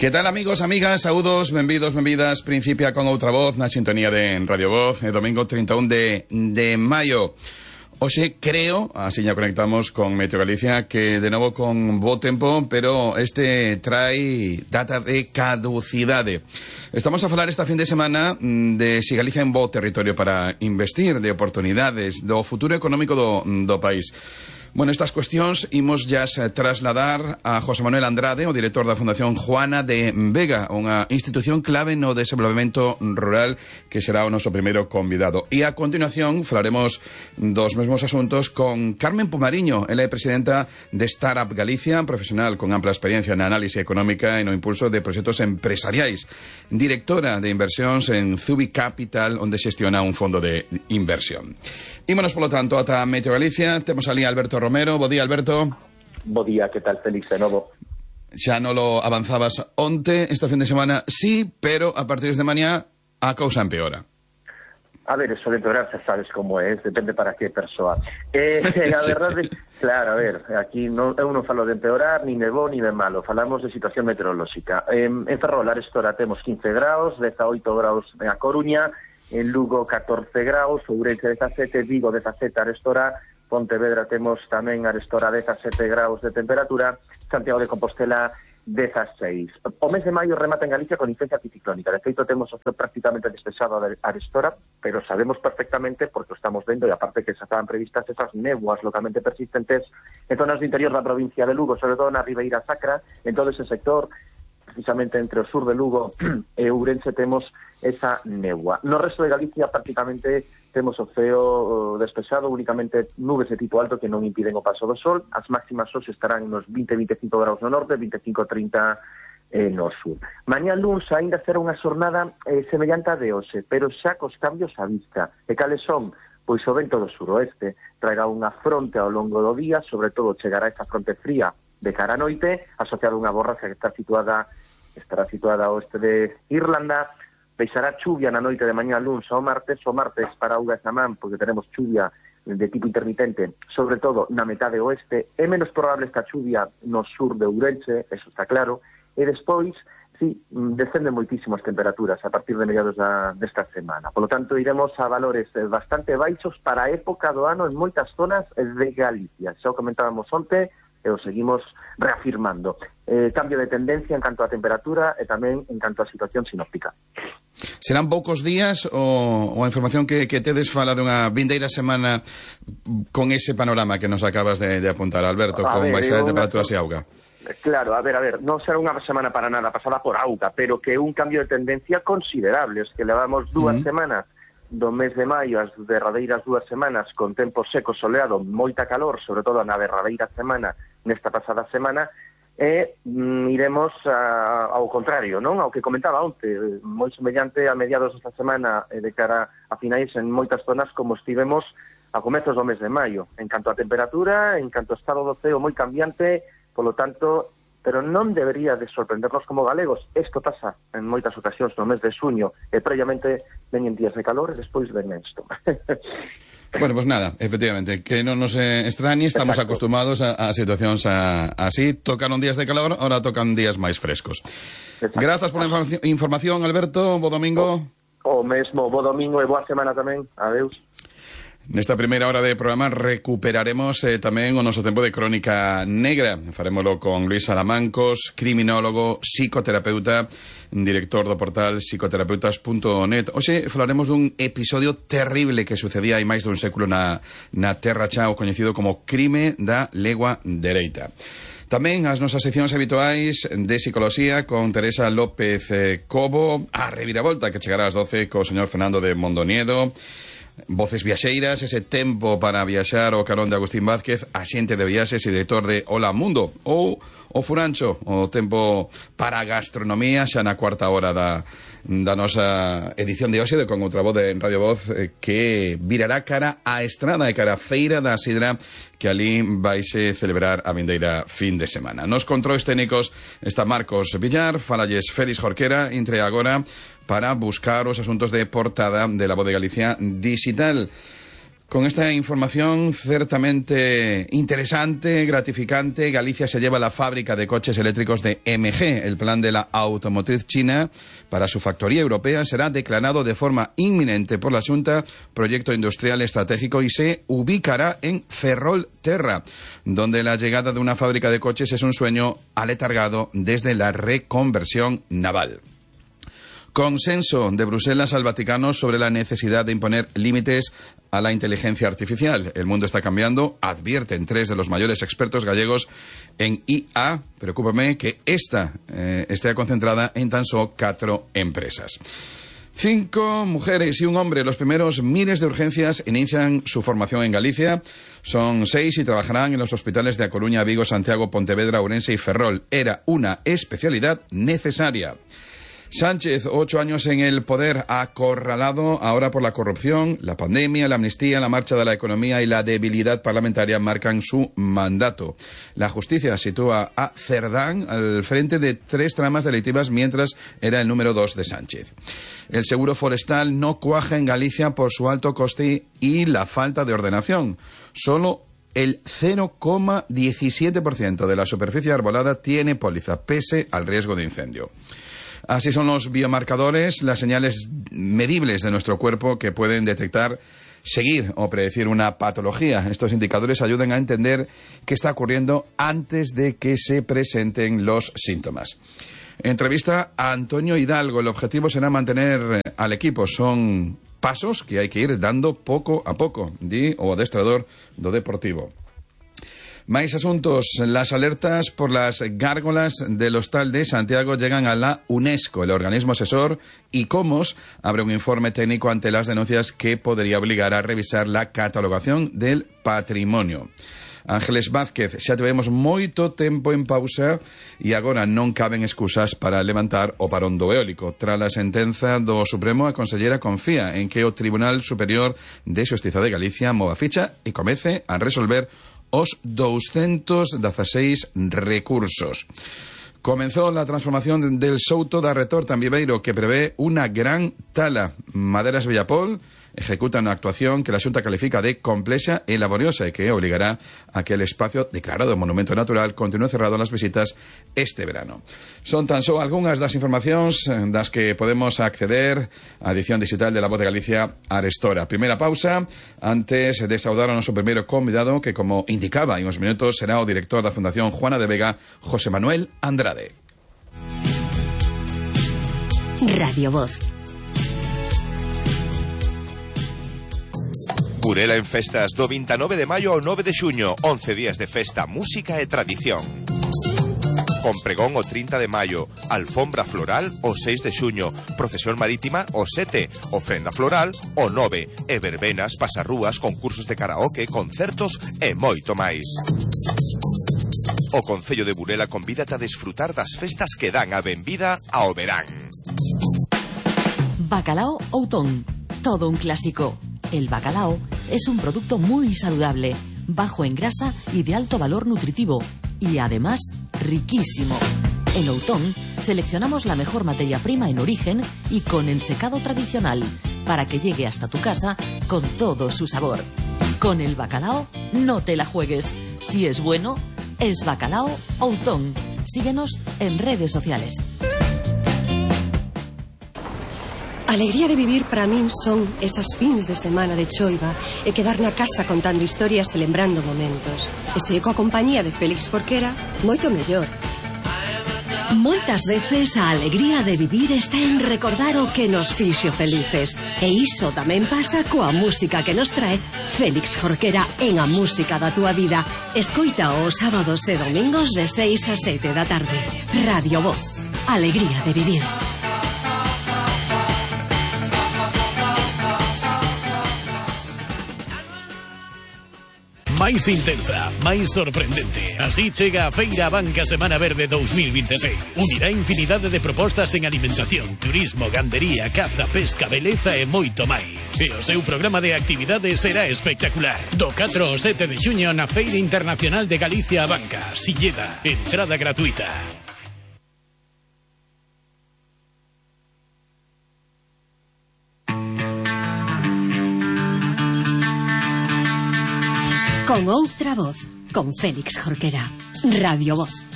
Que tal, amigos, amigas, saúdos, benvidos, benvidas. Principia con outra voz na sintonía de Radio Voz, domingo 31 de maio. Hoxe creo, así ya conectamos con Meteo Galicia, que de novo con bo tempo, pero este trae data de caducidade. Estamos a falar esta fin de semana de si Galicia é un bo territorio para investir, de oportunidades, do futuro económico do país. Bueno, estas cuestións imos ya trasladar a José Manuel Andrade, o director da Fundación Juana de Vega, unha institución clave no desenvolvemento rural, que será o noso primeiro convidado. E a continuación falaremos dos mesmos asuntos con Carmen Pomariño. Ela é presidenta de Startup Galicia, profesional con ampla experiencia na análise económica e no impulso de proxectos empresariais. Directora de inversións en Zubi Capital, onde xestiona un fondo de inversión. Ímonos, polo tanto, ata Meteo Galicia. Temos ali a Alberto Romero. Bo día, Alberto. Bo día, que tal, Félix, de novo? Xa non lo avanzabas onte, esta fin de semana sí, pero a partir de mañá a cousa empeora. A ver, eso de empeorar, xa sabes como é, depende para que persoa. A verdade, claro, a ver, aquí non, eu non falo de empeorar, ni de bo, ni de malo, falamos de situación meteorolóxica. En Ferrol, Arestora, temos 15 graus, 18 graus na Coruña, en Lugo 14 graus, Ourense 17, Vigo 17, Arestora, Pontevedra temos tamén Arestora 17 graus de temperatura, Santiago de Compostela 16. O mes de maio remata en Galicia con influencia anticiclónica. De feito, temos o ceo prácticamente despexado a Arestora, pero sabemos perfectamente, porque o estamos vendo, e aparte que xa estaban previstas esas néboas localmente persistentes en zonas do interior da provincia de Lugo, sobre todo na Ribeira Sacra, en todo ese sector, precisamente entre o sur de Lugo e Ourense, temos esa néboa. No resto de Galicia prácticamente temos o ceo despexado, únicamente nubes de tipo alto que non impiden o paso do sol. As máximas hoxe estarán nos 20-25 graus no norte, 25-30 no sur. Mañá luns aínda será unha xornada semellante a de hoxe, pero xa cos cambios á vista. E cales son? Pois o vento do suroeste traerá unha fronte ao longo do día, sobre todo chegará esta fronte fría de cara a noite, asociada a unha borrasca que estará situada ao oeste de Irlanda. Deixará chuvia na noite de mañá luns ao martes para Auga e Samán, porque teremos chuvia de tipo intermitente, sobre todo na metade oeste. É menos probable esta chuvia no sur de Ourense, eso está claro, e despois, sí, descenden moitísimo as temperaturas a partir de mediados desta semana. Por lo tanto, iremos a valores bastante baixos para a época do ano en moitas zonas de Galicia. Xa o comentábamos onte, e o seguimos reafirmando. Cambio de tendencia en canto a temperatura e tamén en canto a situación sinóptica. Serán poucos días ou a información que tedes fala dunha vindeira semana con ese panorama que nos acabas de apuntar, Alberto, con baixada de temperaturas e auga? Claro, a ver, non será unha semana para nada pasada por auga, pero que un cambio de tendencia considerable. Es que levamos dúas semanas do mes de maio, as derradeiras 2 semanas con tempo seco, soleado, moita calor, sobre todo na derradeira semana, nesta pasada semana, e iremos ao contrario, non? Ao que comentaba onte, moi semellante a mediados desta semana de cara a finais en moitas zonas como estivemos a comezos do mes de maio, en canto a temperatura, en canto a estado do ceo moi cambiante, polo tanto, pero non debería de sorprendernos como galegos. Isto pasa en moitas ocasións no mes de xuño, e previamente veñen días de calor e despois ven isto. Bueno, pues nada, efectivamente, que non nos extrañe, estamos acostumados a situacións así. Tocaron días de calor, ahora tocan días máis frescos. Exacto. Grazas por a información, Alberto, bo domingo. O mesmo, bo domingo e boa semana tamén. Adeus. Nesta primeira hora de programa recuperaremos tamén o noso tempo de crónica negra. Farémolo con Luis Salamancos, criminólogo, psicoterapeuta, director do portal psicoterapeutas.net. Hoxe falaremos dun episodio terrible que sucedía hai máis dun século na Terra Chao, coñecido como crime da legua dereita. Tamén as nosas seccións habituais de psicoloxía con Teresa López Cobo, a reviravolta que chegará ás 12 co señor Fernando de Mondoniedo, Voces Viaxeiras, ese tempo para viaxar o carón de Agustín Vázquez, axente de viaxes e director de Hola Mundo, ou o Furancho, o tempo para a gastronomía, xa na cuarta hora da nosa edición de hoxe de Con outra voz de Radio Voz, que virará cara á estrada e cara á feira da sidra que ali vaise celebrar a vindeira fin de semana. Nos controis técnicos está Marcos Villar, falalles Félix Jorquera, entre agora para buscar os asuntos de portada de La Voz de Galicia digital. Con esta información ciertamente interesante, gratificante, Galicia se lleva la fábrica de coches eléctricos de MG. El plan de la automotriz china para su factoría europea será declarado de forma inminente por la Xunta proyecto industrial estratégico y se ubicará en Ferrolterra, donde la llegada de una fábrica de coches es un sueño aletargado desde la reconversión naval. Consenso de Bruselas al Vaticano sobre la necesidad de imponer límites a la inteligencia artificial. El mundo está cambiando, advierten 3 de los mayores expertos gallegos en IA. Preocúpame que esta esté concentrada en tan solo 4 empresas. 5 mujeres y un hombre, los primeros miles de urgencias, inician su formación en Galicia. Son 6 y trabajarán en los hospitales de A Coruña, Vigo, Santiago, Pontevedra, Ourense y Ferrol. Era una especialidad necesaria. Sánchez, 8 años en el poder, acorralado ahora por la corrupción, la pandemia, la amnistía, la marcha de la economía y la debilidad parlamentaria marcan su mandato. La justicia sitúa a Cerdán al frente de 3 tramas delictivas mientras era el número 2 de Sánchez. El seguro forestal no cuaja en Galicia por su alto coste y la falta de ordenación. Solo el 0,17% de la superficie arbolada tiene póliza, pese al riesgo de incendio. Así son los biomarcadores, las señales medibles de nuestro cuerpo que pueden detectar, seguir o predecir una patología. Estos indicadores ayudan a entender qué está ocurriendo antes de que se presenten los síntomas. Entrevista a Antonio Hidalgo. El objetivo será mantener al equipo. Son pasos que hay que ir dando poco a poco, di o adestrador do Deportivo. Máis asuntos. Las alertas por las gárgolas del Hostal de Santiago llegan a la UNESCO. El organismo asesor ICOMOS abre un informe técnico ante las denuncias que podría obligar a revisar la catalogación del patrimonio. Ángeles Vázquez, xa tivemos moito tempo en pausa e agora non caben excusas para levantar o parón do eólico. Tras a sentenza do Supremo, a conselleira confía en que o Tribunal Superior de Xustiza de Galicia mova ficha e comece a resolver os 216 recursos. Comenzó la transformación del Souto da Retorta en Viveiro, que prevé una gran tala. Maderas Bellapol ejecuta una actuación que la Xunta califica de complexa e laboriosa e que obligará a que el espacio declarado monumento natural continúe cerrado a las visitas este verano. Son tan só algunhas das informacións das que podemos acceder á edición digital de La Voz de Galicia arestora. Primeira pausa, antes de saudar ao noso primeiro convidado, que como indicaba en uns minutos será o director da Fundación Juana de Vega, José Manuel Andrade. Radio Voz. Burela en festas do 29 de maio ao 9 de xuño, 11 días de festa, música e tradición. Con pregón o 30 de maio, alfombra floral o 6 de xuño, procesión marítima o 7, ofrenda floral o 9, e verbenas, pasarrúas, concursos de karaoke, concertos e moito máis. O Concello de Burela convídate a desfrutar das festas que dan a benvida ao verán. Bacalao Outón, todo un clásico. El bacalao es un producto muy saludable, bajo en grasa y de alto valor nutritivo, y además riquísimo. En Outón seleccionamos la mejor materia prima en origen y con ensecado tradicional, para que llegue hasta tu casa con todo su sabor. Con el bacalao no te la juegues. Si es bueno, es Bacalao Outón. Síguenos en redes sociales. A alegría de vivir para min son esas fins de semana de choiva e quedar na casa contando historias e lembrando momentos. E se coa compañía de Félix Jorquera, moito mellor. Moitas veces a alegría de vivir está en recordar o que nos fixo felices. E iso tamén pasa coa música que nos trae Félix Jorquera en A Música da Túa Vida. Escoita os sábados e domingos de 6 a 7 da tarde. Radio Voz. Alegría de vivir. Máis intensa, máis sorprendente. Así chega a Feira Banca Semana Verde 2026. Unirá infinidade de propostas en alimentación, turismo, gandería, caza, pesca, beleza e moito máis. E o seu programa de actividades será espectacular. Do 4 ao 7 de xuño na Feira Internacional de Galicia a Banca, Silleda. Entrada gratuita. Con outra voz, con Félix Jorquera. Radio Voz.